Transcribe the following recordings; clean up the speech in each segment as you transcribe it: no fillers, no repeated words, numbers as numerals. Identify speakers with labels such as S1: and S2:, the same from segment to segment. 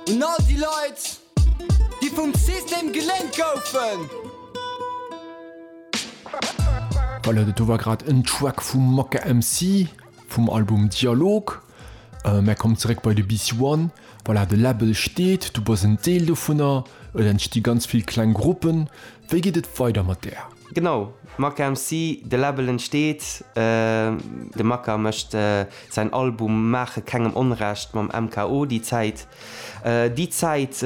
S1: Un all déi Leit, déi vum System geléint goufen.
S2: Voilà, dat do war grad en Track vum Maka MC vum Album Dialog. Mär kommen zeréck bei de BC One. Voilà, de Label steet, du bass en Deel dovunner, et entsti ganz vill kleng Gruppen. Wéi geet et weider mat där?
S3: Genau, Maka MC, de Label entsteet, de Maka mécht säin Album Maache kengem Onrecht mam MKO déi Zäit. Déi Zäit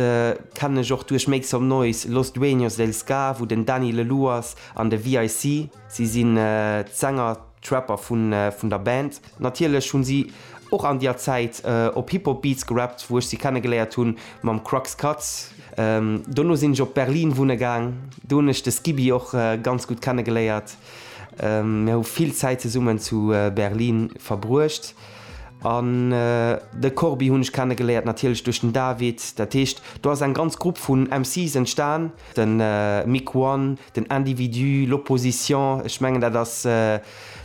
S3: kennen ech och duerch Make Some Noise, Los Dueños del Ska, wou den Dany Lelou ass an de VIC, si sinn d'Sänger, d'Rapper vun der Band. Natierlech hunn si och an dier Zäit op Hip-Hop Beats gerappt, wou ech si kennegeléiert hunn mam Crux Cuts. Dono sinn ech op Berlin wunne gaang, do hunn ech de Skibi och ganz gutt kennegeléiert. Mir hu vill Zäit zesummen zu Berlin verbruecht. An de Corbi hunn ech kennegeléiert natierlech duerch den David. Dat heescht, do ass eng ganz Grupp vun MCs entstan, de Mick One, den Individu, l'Opposition. Ech mengen dat ass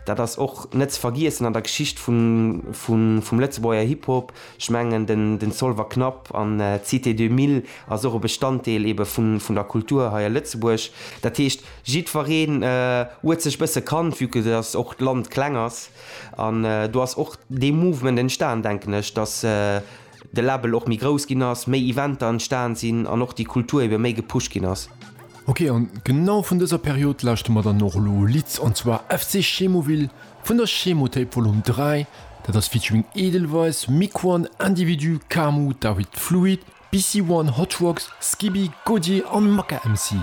S3: Dat ass och net ze vergiessen an der Geschicht vum Lëtzebuerger Hip-Hop. Ech mengen den Zolwer Knapp an d'Cité 2000 ass och e Bestanddeel ebe vun der Kultur hei a Lëtzebuerg. Dat heescht, jiddwereen huet sech bësse kannt, vue que dass och d'Land kleng ass. An do ass och dee Movement entstan, denken ech, dass de Label och méi grouss ginn ass, méi Eventer entstan sinn an och déi Kultur ebe méi gepusht ginn ass.
S2: Ok, an genau vun dëser Period lauschte mer dann och elo e Lidd, an zwar FC Chemoville vun der Chemotape Volume 3. Dat ass featuring Edelweiss, Miquan, Individu, Camus, David Fluid, BC One, Hot Rocks, Skibi, Godier an Maka MC.